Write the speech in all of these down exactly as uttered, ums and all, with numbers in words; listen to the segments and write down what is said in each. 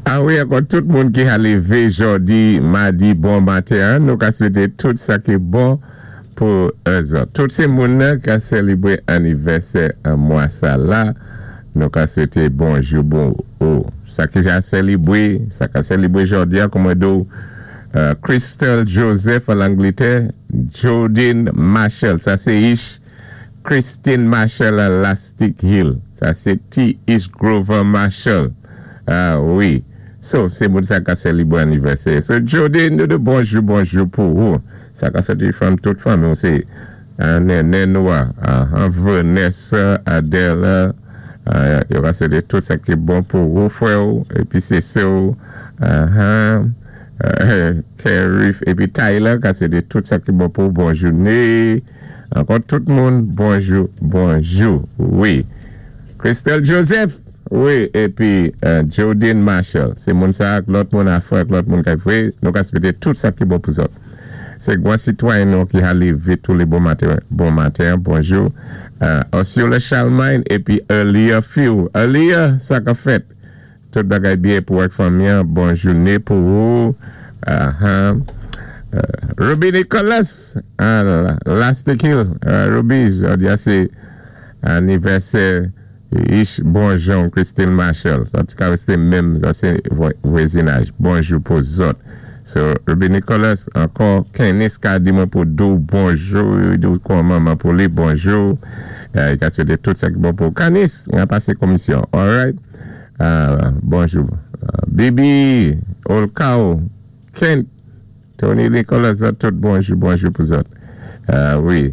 A wi, ankò tout moun ki a lévé jòdi, madi, bon maten, nou ka swété tout sa ki bon pou zòt. Tout sé moun ki a sélébwé anivèsè an mwa sa la, nou ka swété bonjou, bon, oh, sa ki a sélébwé, sa ka sélébwé jòdi, kòm mwen di euh, Crystal Joseph an Langlétè, Jodine Marshall, sa sé ich, Christine Marshall à Lastic Hill, sa sé T. Ish Grover Marshall. A wi. So, sé moun sa ka sélébwé anivèsè. So, Jodine, nou di bonjou, bonjou pou ou. Sa ka soti fanm, tout fanm, sé néné nou, ah, Vanessa, Adela, yo ka swété tout sa ki bon pou ou, frè, épi sé sè, uh Kerif, épi Tyler, ka swété tout sa ki bon pou ou, bon jouné. Ankò tout moun, bonjou, bonjou, wi. Christelle Joseph, wi, épi euh, Jodine Marshall, sé moun sa, lòt moun a frè, lòt moun ki fè, nou ka swété tout sa ki bon pou zòt. Sé gwan sitwayen nou ki a lévé tou lé bon maten, bon maten, bonjou. Euh, Osceola Charlemagne, épi Elia Few. Elia, sa ka fèt. Tout bagay byen pou ak fanmi, bon jouné pou ou. Uh -huh. Uh, Ruby Nicholas, ah, Lastic Hill, uh, Ruby, jòdi a sé anivèsè ich bonjou Christine Marshall. Sa ka wé menm, sa sé vwazinaj. Bonjou pou zòt. So, Ruby Nicholas, ankò, Kenis ka di mwen pou di ou bonjou, di kòman pou li bonjou. Euh, i ka swété tout sa ki bon pou Kenis, an pasé komisyon. All right? Uh, bonjou. Uh, Bibi, Olkao, Kent, Tony Nicholas, tout bonjou, bonjou pou zòt. Uh, wi.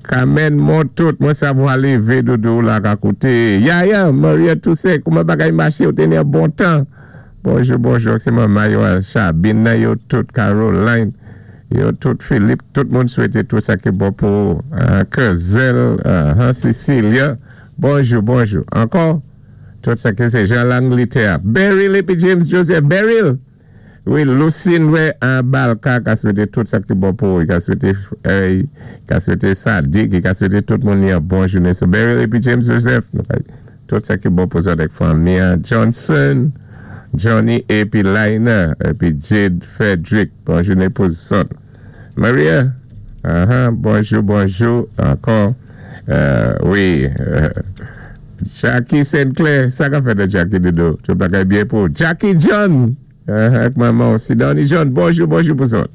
Carmen Montout, mwen savwa lévé doudou la ka kouté. Yaya, Maria Toussaint, kouman bagay maché, ou té yon bon tan. Bonjou, bonjou, sé manman yo, Chabine, yo tout Caroline, yo tout Philippe, tout moun swété tout sa ki bon pou uh, Kezel, uh, Cecilia. Bonjou, bonjou. Ankò, tout sa ki sé Jean L'Angleterre. Beryl épi James Joseph, Beryl. Wi, Lucine, wi, an Balka, ka swété tout sa ki bon pou, ka swété, ka swété Sadik, ka swété tout moun yon bon jouné. So, Beryl épi James Joseph, tout sa ki bon pou zòt ak fanmi, Johnson, Johnny épi Lina, épi Jade Frederick, bon jouné pou zòt. Maria, uh -huh, bonjou, bonjou, ankò, euh, wi, euh, Jackie Sinclair, sa ka fèt Jackie doudou, tout bagay byen pou Jackie John, ak manman, Sidonie John, bonjou, bonjou pou zòt.